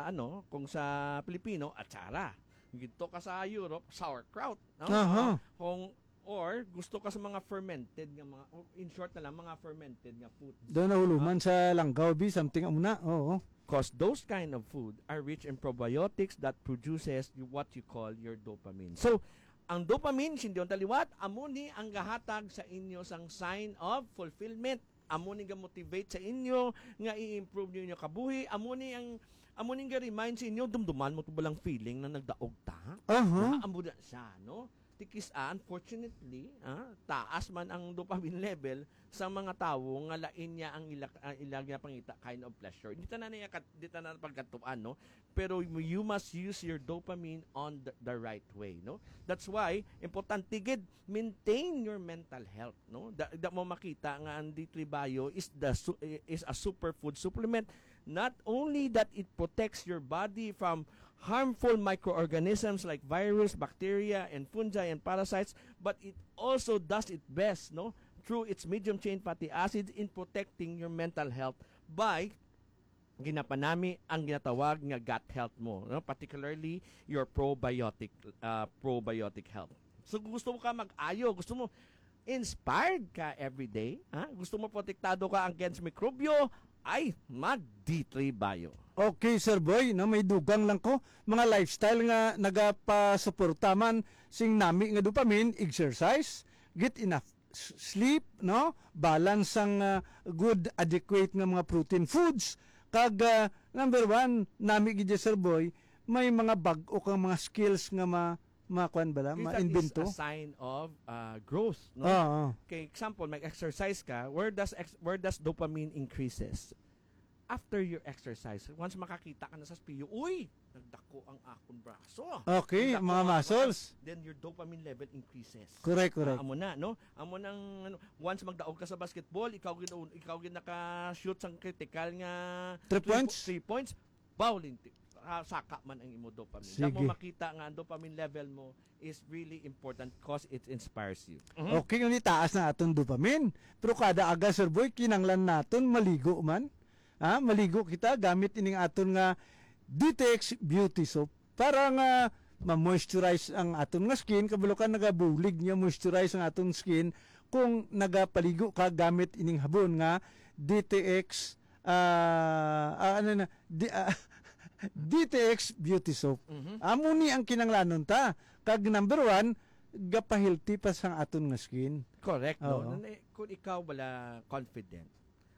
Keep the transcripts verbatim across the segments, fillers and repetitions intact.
ano, kung sa Pilipino, atsara. Dito ka sa Europe, sauerkraut, no? Aha. Ah, kung, or gusto ka sa mga fermented nga mga, in short na lang, mga fermented nga food. Doon nahuluman sa langgaw, bi, something amo na. Oo. Cause those kind of food are rich in probiotics that produces y-, what you call your dopamine. So, ang dopamine, sindiyon taliwat, amo ni ang gahatag sa inyo sang sign of fulfillment. Amo ni ga-motivate sa inyo nga i-improve niyo inyo kabuhi. Amo ni ang, amo ni ga-remind sa inyo, dumduman mo to balang feeling na nagdaog ta? Aha. Na, amo na siya, no? Tikis, ah, unfortunately, ah, taas man ang dopamine level sa mga tawo nga lain niya ang ila, ang ila nga pangita kind of pleasure. Di ta na niya kat-, di ta na pagkatuan, no? Pero you must use your dopamine on the, the right way, no? That's why importante gid maintain your mental health, no? Da, da mo makita nga ang D three Bio is the su-, is a superfood supplement. Not only that it protects your body from harmful microorganisms like virus, bacteria, and fungi and parasites, but it also does its best, no, through its medium chain fatty acids in protecting your mental health by ginapanami ang ginatawag nga gut health mo, no? Particularly your probiotic, ah, probiotic health. So, kung gusto mo ka mag-ayo, gusto mo inspired ka every day, ha? Gusto mo protektado ka against mikrobyo, ay mag D three Bio. Okay, Sir Boy, no, may dugang lang ko. Mga lifestyle nga nagapasuporta man sing nami nga dopamine, exercise, get enough s-, sleep, no? Balance sang, ah, good, adequate nga mga protein foods. Kag, ah, number one, nami gid, Sir Boy, may mga bag-o kang mga skills nga ma-, makuan bala, Is that is ma-invento. A sign of, ah, growth, no? Oo. Kay example, mag-exercise ka, where does ex-, where does dopamine increases? After your exercise, once makakita ka na sa spiyo, "Uy, nagdako ang akon braso." Okay, Nagdako mga ang akon muscles. Then your dopamine level increases. Correct, correct. Ah, amo na, no? Amo nang, ano, once magdaog ka sa basketball, ikaw gid, ikaw gid naka-shoot sang critical nga Three three po-, points? Three points, bawling ti-, ah, saka man ang imo dopamine. Sige. Damo makita nga ang dopamine level mo is really important 'cause it inspires you. Mhm. Okay, yun, itaas na aton dopamine. Pero kada aga, Sir Boy, kinanglan naton maligo man. Ha? Maligo kita gamit ining aton nga D T X Beauty Soap para nga ma-moisturize ang aton nga skin. Kabalo ka, nagabulig niya moisturize ang aton skin kung nagapaligo ka gamit ining habon nga D T X, ah, ah, ano na, di, ah, D T X Beauty Soap. Mhm. Amo ni ang kinanglanon ta. Kag number one, gapahealthy pa sang aton nga skin. Correct, no? Oo. Nan-, eh, kung ikaw wala confident,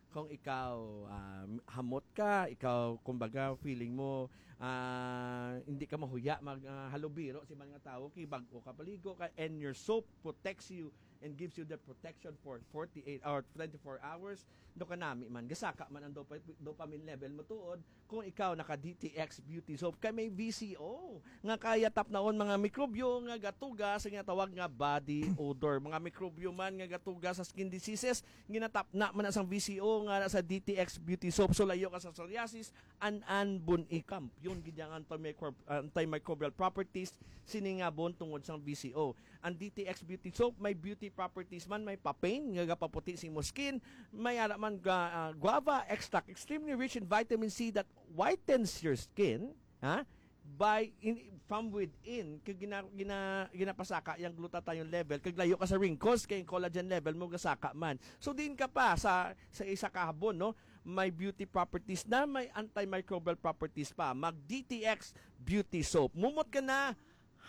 kung ikaw, ah, hamot ka, ikaw, kumbaga, feeling mo, ah, hindi ka mahuya mag, ah, halubiro, si man nga tawo, kay bag-o ka paligo ka, and your soap protects you and gives you the protection for forty-eight or twenty-four hours, do kanami man, gasaka man ang dopa-, dopamine level mo tuod, kung ikaw naka D T X Beauty Soap, kay may V C O nga kaya tapnaon mga mikrobyo nga gatuga sa ginatawag nga body odor. Mga mikrobyo man nga gatuga sa skin diseases, ginatapna man na sang V C O nga na sa D T X Beauty Soap. So, layo ka sa psoriasis, an-an bun-i, kampiyon gid ang antimicrob-, antimicrobial properties sini nga bon tungod sang V C O. Ang D T X Beauty Soap may beauty properties man, may papain nga gapaputi sa imo skin, may ara man ga-, ah, guava extract, extremely rich in vitamin C that whitens your skin, ha? By in, from within, kay gina-, gina-, ginapasaka yung glutathione level, kag layo ka sa wrinkles, kay yung collagen level mo gasaka man. So, diin ka pa sa, sa isa ka habon, no? May beauty properties na, may antimicrobial properties pa. Mag D T X Beauty Soap. Mumot ka na,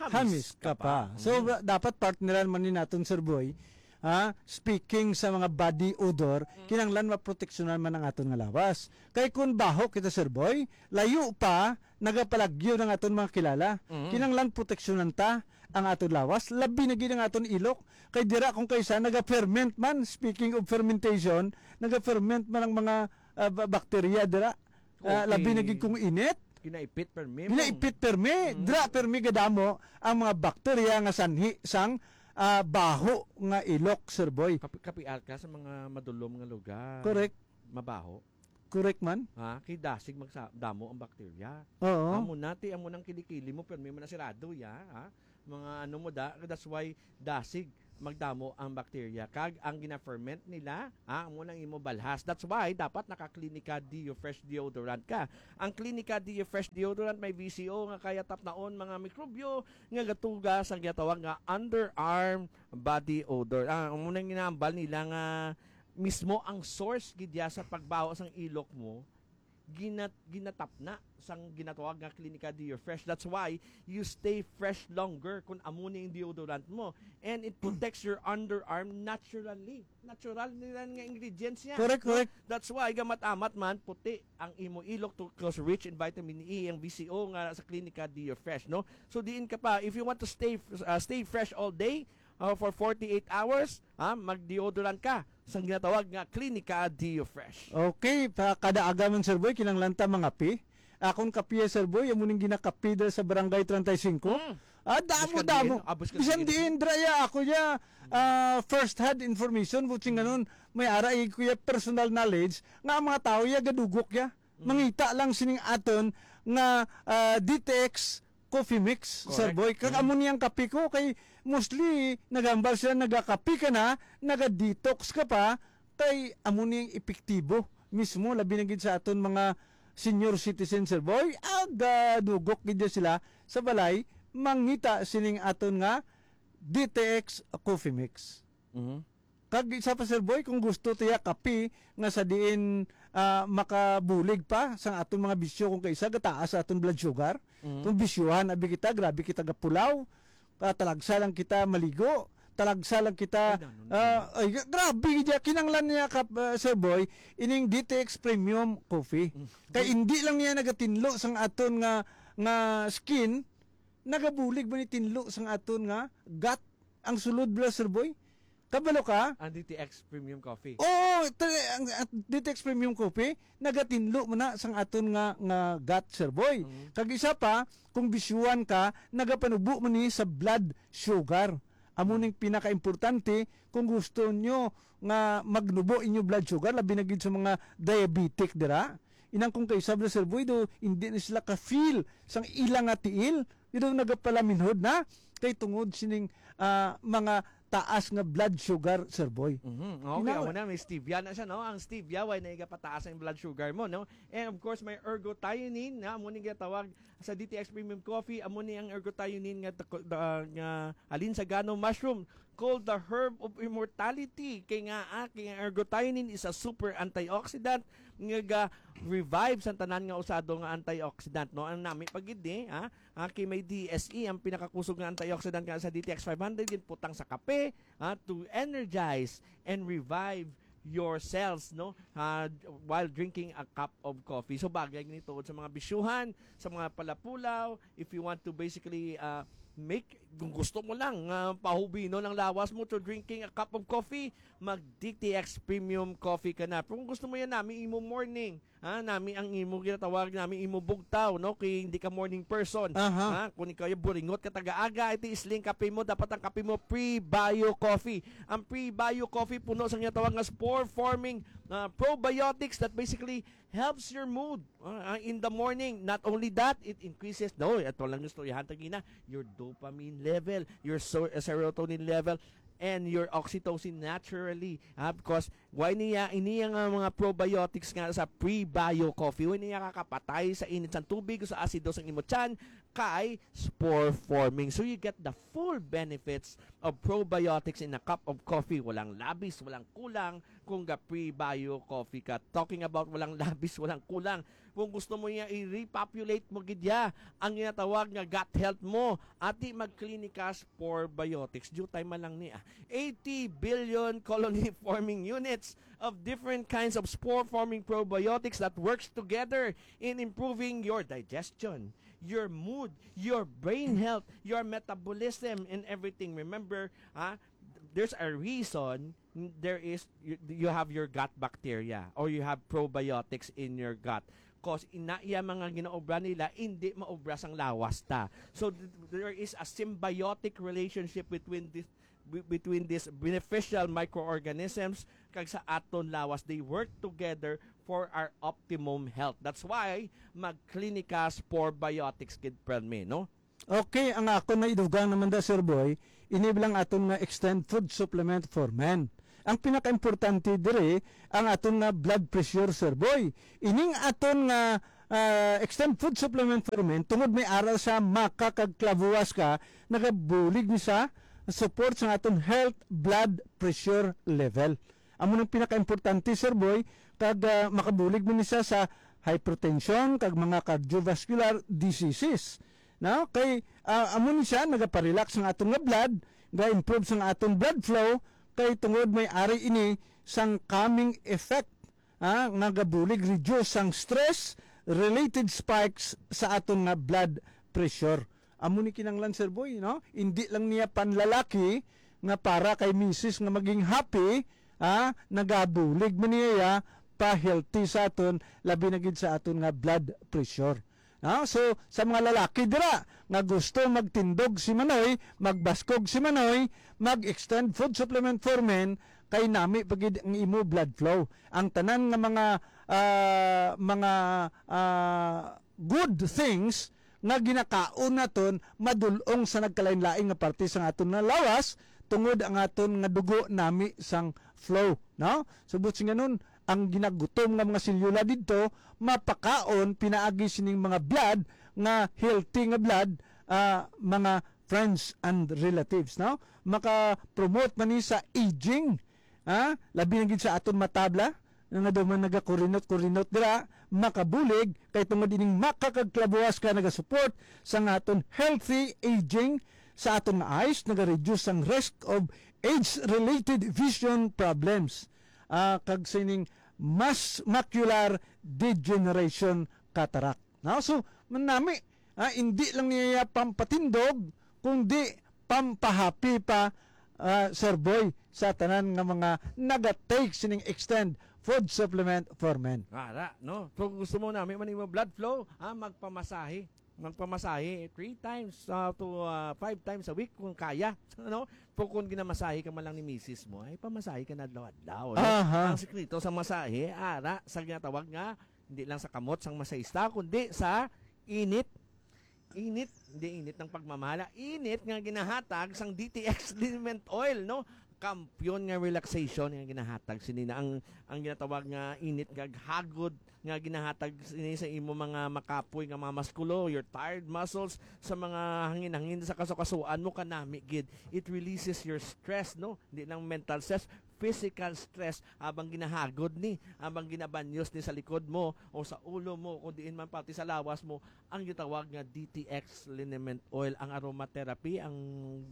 hamis Hamis ka ka pa. pa. So, Mhm. ba-, dapat partneran man ni naton, Sir Boy. Ha? Speaking sa mga body odor, Mm. kinahanglan maproteksyonan man ang aton nga lawas. Kay kung baho kita, Sir Boy, layo pa, nagapalagyo ng aton mga kilala. Mm. Kinahanglan proteksyonan ta ang aton lawas, labi na gid ang aton ilok. Kay dira kung kaysa, naga-ferment man, speaking of fermentation, naga-ferment man ang mga, ah, ba-, bakterya dira. Ah, Okay. labi na gid kung init. Ginaipit permi mo. Ginaipit permi. Mm. Dira permi gadamo ang mga bakterya nga sanhi sang, ah, baho nga ilok, Sir Boy. Kapi-, kapial ka sa mga madulom nga lugar. Correct. Mabaho. Correct man. Ha? Kay dasig magsa-, damo ang bakterya. Oo. Amo na, ti, amo nang kilikili mo, permi man na sirado, ya, ha? Mga ano mo da, that's why dasig. magdamo ang bakterya. Kag ang gina-ferment nila, ah, amo nang imo balhas. That's why dapat naka-Clinica Deo Fresh deodorant ka. Ang Clinica Deo Fresh deodorant may V C O nga kaya tapnaon mga mikrobyo nga gatuga sa ginatawag nga underarm body odor. Ah, amo nang ginahambal nila nga mismo ang source gid ya sa pagbaho sang ilok mo, ginat ginatapna sang ginatawag nga Clinica Deo Fresh. That's why you stay fresh longer kung amo ni ang deodorant mo. And it protects your underarm naturally. Natural nila nga ingredients niya. Correct, No? correct. That's why gamat-amat man puti ang imo ilok to, because rich in vitamin E ang V C O nga sa Clinica Deo Fresh, no? So diin ka pa, if you want to stay uh, stay fresh all day, uh, for forty-eight hours, ha, mag-deodorant ka sa ginatawag nga Clinica Deo Fresh. Okay, pa kada aga man, Sir Boy, kinahanglan ta mangape. Akon kape, Sir Boy, amo ning ginakape dira sa Barangay treinta y cinco. Mm. Ah, damo, Bisan damo. diin, ah, bisan Bisan diin. Diin, dra ya, ako ya, ah, first hand information, buting ganon, may ara, eh, kuya, personal knowledge, nga ang mga tao ya, gadugok ya. Mangita lang sining aton nga, ah, D T X Coffee Mix, Sir Correct. Boy. Kag Mm. amo niyang kape ko, kay mostly, nagambal sila, nagakape ka na, naga-detox ka pa, kay amo niyang epektibo mismo, labi na gid sa aton mga senior citizen, Sir Boy. Aga dugok gid sila sa balay, mangita sining aton nga D T X Coffee Mix. Mhm. Kag isa pa, Sir Boy, kung gusto tiya kape nga sa diin, ah, makabulig pa sa aton mga bisyo, kung kaisa gataas sa aton blood sugar, Mhm. kung bisyuhan abi kita, grabe kita gapulaw, ah, talagsa lang kita maligo, talagsa lang kita, Ay, nanon, ah, ay, gra- grabe gid ya, kinanglan niya ka, ah, Sir Boy, ining D T X Premium Coffee. Mm. Kay hindi lang niya nagatinlo sang aton nga nga skin, nagabulig ba ni tinlo sang aton nga gut ang sulod, bala, Sir Boy? Kabalo ka? Ang D T X Premium Coffee. Oo, tali- ang, ang D T X Premium Coffee, nagatinlo man na sang aton nga, nga gut, Sir Boy. Mhm. Kag isa pa, kung bisyuhan ka, nagapanubo man ni sa blood sugar. Amo ning pinakaimportante kung gusto nyo nga magnubo inyo blood sugar, labi na gid sa mga diabetic dira. Inang kung kay sabla, Sir Boy, do, hindi na sila ka-feel sang ila nga tiil. Dito nagapalaminhod na kay tungod sining, ah, mga taas nga blood sugar, Sir Boy. Mhm. Okay, Ina- amo na, may stevia na siya, no? Ang stevia, way na igapataas ang blood sugar mo, no? And of course, may ergothioneine, na amo ni ginatawag sa D T X Premium Coffee, amo ni ang ergothioneine nga, tako- da- nga halin sa gano mushroom, called the herb of immortality. Kay nga, ah, kay ang ergothioneine is a super antioxidant nga ga revive sa tanan nga usado nga antioxidant, no? Ang nami pa gid ni, ha? Ah, kay may D S E, ang pinakakusog nga antioxidant nga sa D T X five hundred, ginputang sa kape, ha, to energize and revive your cells, no? Ah, while drinking a cup of coffee. So, bagay ni tuod sa mga bisyuhan, sa mga palapulaw. If you want to basically, ah, make, kung gusto mo lang, ah, pahubino ng lawas mo to drinking a cup of coffee, mag D T X Premium Coffee ka na. Pero kung gusto mo yan, nami imo morning, ha, nami ang imo ginatawag, nami imo bugtaw, no? Kay hindi ka morning person. Aha. Ha? Kung ikaw yung buringot ka taga-aga, ito isling kape mo, dapat ang kape mo pre-bio coffee. Ang pre-bio coffee puno sa ginatawag nga spore-forming, ah, probiotics that basically helps your mood, ah, in the morning. Not only that, it increases, no, ito lang yung istoryahan tagina, your dopamine level, your so- serotonin level, and your oxytocin naturally. Ah, because why niya, iniya nga mga probiotics nga sa pre-bio coffee, why niya kakapatay sa init sang tubig o sa asido sang imo tiyan, kay spore forming. So you get the full benefits of probiotics in a cup of coffee. Walang labis, walang kulang kung ga pre-bio coffee ka. Talking about walang labis, walang kulang. Kung gusto mo niya i-repopulate mo gid ya ang ginatawag nga gut health mo, ati mag-Clinica Spore Biotics. Jutay man lang ni, ah. Eighty billion colony forming units of different kinds of spore forming probiotics that works together in improving your digestion, your mood, your brain health, your metabolism, and everything. Remember, ah, there's a reason there is you, you have your gut bacteria or you have probiotics in your gut. Cause ina iya mga ginaobra nila, hindi maobra sang lawas ta. So th- there is a symbiotic relationship between this be- between these beneficial microorganisms kag sa aton lawas. They work together for our optimum health. That's why mag-Clinica Spore Biotics gid, permi, no? Okay, ang akon na idugang naman da, Sir Boy, ini lang aton nga extend food supplement for men. Ang pinakaimportante diri, ang aton nga blood pressure, Sir Boy. Ining aton nga ah, extend food supplement for men, tungod may ara sa maka kag clavuas ka, nagabulig ni sa support sa aton health blood pressure level. Amo nang pinakaimportante, Sir Boy, kag ah, makabulig man ni siya sa hypertension kag mga cardiovascular diseases. No? Kay ah, amo ni siya nagaparelax ang aton nga blood, ga-improve sang aton blood flow, kay tungod may ari ini sang calming effect, ah, nga gabulig reduce sang stress related spikes sa aton nga blood pressure. Amo ni kinanglan, Sir Boy, no? Indi lang niya panlalaki nga para kay misis nga maging happy, ah, nagabulig man niya pa healthy sa aton, labi na gid sa aton nga blood pressure. No? So, sa mga lalaki dira nga gusto magtindog si Manoy, magbaskog si Manoy, mag-extend food supplement for men, kay nami pa gid ang imo blood flow. Ang tanan nga mga ah, mga ah, good things nga ginakaon naton madul-ong sa nagkalain-lain nga parte sa aton nga lawas, tungod ang aton nga dugo nami sang flow, no? So, buot silingon, ang ginagutom nga mga selyula didto mapakaon pinaagi sining mga blood nga healthy nga blood, ah, mga friends and relatives, no? Maka-promote man ni sa aging, ha? Labi na gid sa aton matabla, nga daw man nagakurinot-kurinot dira, makabulig, kay tungod ining maka kag clavuas ka nagasupport sa nga aton healthy aging, sa aton nga eyes, nagareduce ang risk of age-related vision problems, ah, kag sining mas macular degeneration, cataract. No? So, manami, ah, hindi lang niya pampatindog, kundi pampahappy pa, ah, Sir Boy, sa tanan nga mga nagatake sining extend food supplement for men. Ara, no? So, kung gusto mo nami man imo blood flow, ah, magpamasahe. Magpamasahe three times, ah, to, ah, five times a week kung kaya, no? Pero kung ginamasahe ka man lang ni misis mo, ay pamasahe ka na adlaw-adlaw, no? Aha. Ang sikreto sa masahe, ara, sa ginatawag nga, hindi lang sa kamot sang masahista, kundi sa init. Init, hindi init ng pagmamahala. Init nga ginahatag sang D T X liniment oil, no? Kampiyon nga relaxation nga ginahatag sini na ang, ang ginatawag nga init nga hagod nga ginahatag sini sa imo mga makapoy nga mga muskulo, your tired muscles, sa mga hangin-hangin sa kasukasuan mo, kanami gid. It releases your stress, no? Hindi lang mental stress, physical stress, habang ginahagod ni, habang ginabanyos ni sa likod mo o sa ulo mo, kung diin man pati sa lawas mo, ang gitawag nga D T X liniment oil, ang aromatherapy, ang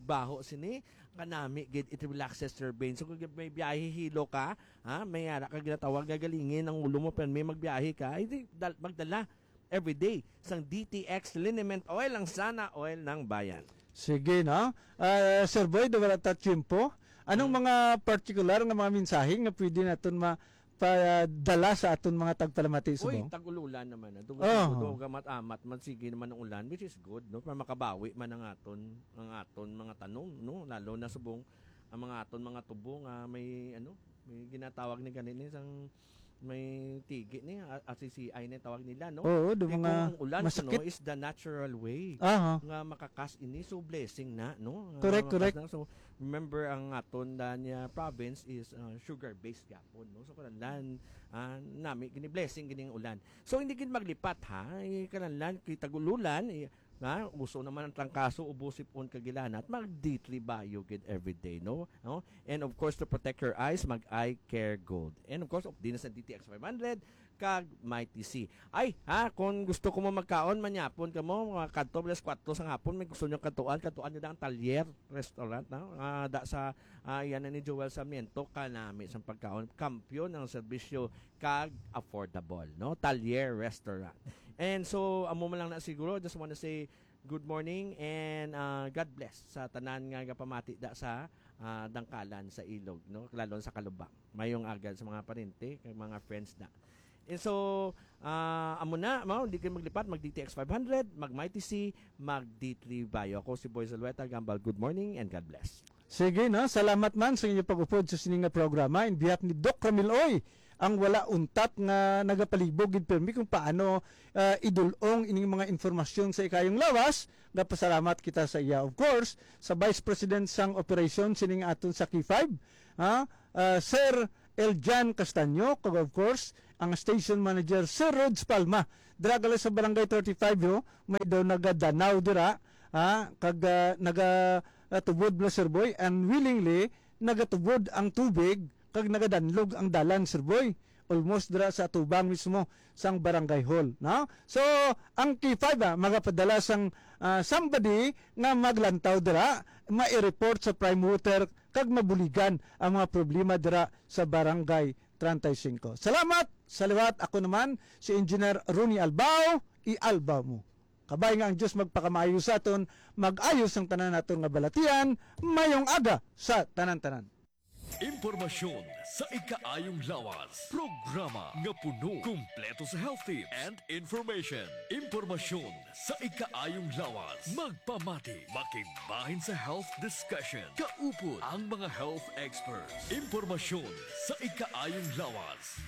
baho sini, kanami gid, it relaxes your veins. So, kung may biyahe hilo ka, ha, may ara ka ginatawag nga galingin ang ulo mo, pero may magbiyahe ka, ay di, dal- magdala every day sang D T X liniment oil, ang sana oil ng bayan. Sige, no? Ah, Sir Boy, do wala ta tiyempo. Anong Hmm. mga particular nga mga mensahe nga pwede naton ma padala sa aton mga tagpalamati Uy, subong? Tag-ululan naman na. Dugo, Oh. dugo, dugo, gamat-amat man, sige naman ang ulan, which is good, no? Para makabawi man ang aton, ang aton mga tanom, no? Lalo na subong ang mga aton mga tubo nga may, ano, may ginatawag ni ganini sang may tigi ni, a-, A C C I na tawag nila, no? Oo, do Di mga kung ang ulan, ano, masakit. Is the natural way Aha. nga makakas ini. So, blessing na, no? Nga Correct, makakas correct. na. So, remember, ang aton da niya province is, uh, sugar-based gapon, no? So, kananlan, ah, nami, gini blessing, gini ang ulan. So, hindi gid maglipat, ha? Eh, kananlan, kay tag-ululan, eh, nga, uso naman ang trangkaso, ubo, sipon, kag ilana, at mag D three Bio gid everyday, no? No? And of course, to protect your eyes, mag Eye Care Gold. And of course, of din sa D T X five hundred, kag Mighty C. Ay, ha, kung gusto ko mo magkaon, manyapon ka mo, mga kadto, alas kuwatro sa hapon, may gusto nyo kadtuan, kadtuan nyo na ang Talyer Restaurant, no? Ah, da sa, ah, yan na ni Joel Sarmiento, kanami sa pagkaon, kampiyon ang serbisyo, kag affordable, no? Talyer Restaurant. And so, amo man lang na siguro, just wanna say good morning and, ah, God bless sa tanan nga gapamati da sa, ah, Dangkalan, sa Ilog, no? Lalo sa Kalubang. Mayong aga sa mga parente, kag mga friends da. And so, ah, amo na, mao, di kayo maglipat, mag D T X five hundred, mag Mighty C, mag D three Bio. Ako si Boy Zulueta Gambal. Good morning and God bless. Sige, no? Salamat man sa inyo pag-upod sa sini nga programa. In behalf ni Doc Ramil Oy, ang wala untat nga nagapalibog gid pirmi kung paano, ah, idulong ining mga informasyon sa ikayong lawas. Gapasalamat kita sa iya, of course, sa Vice President sang Operasyon sining aton sa K five, ha? Ah, Sir Eljan Castaño, kag of course, ang Station Manager, Sir Rods Palma. Dira gali sa Barangay thirty-five, yo, may daw nagadanaw dira, ha? Kag, ah, naga, ah, tubod bala, Sir Boy, and willingly nagatubod ang tubig kag nagadanlog ang dalan, Sir Boy. Almost dira sa atubang mismo sang barangay hall, no? So, ang K five, ah, magapadala sang, ah, somebody nga maglantaw dira, mai-report sa Prime Water kag mabuligan ang mga problema dira sa Barangay treinta y cinco. Salamat sa liwat. Ako naman si Engineer Ronnie Albao, i-Albao mo. Kabay nga ang Dios magpakamaayo sa aton, mag-ayos ang tanan naton nga balatian. Mayong aga sa tanan-tanan. Impormasyon sa ikaayong lawas. Programa nga puno, kumpleto sa health tips and information. Impormasyon sa ikaayong lawas. Magpamati, makigbahin sa health discussion. Kaupod ang mga health experts. Impormasyon sa ikaayong lawas.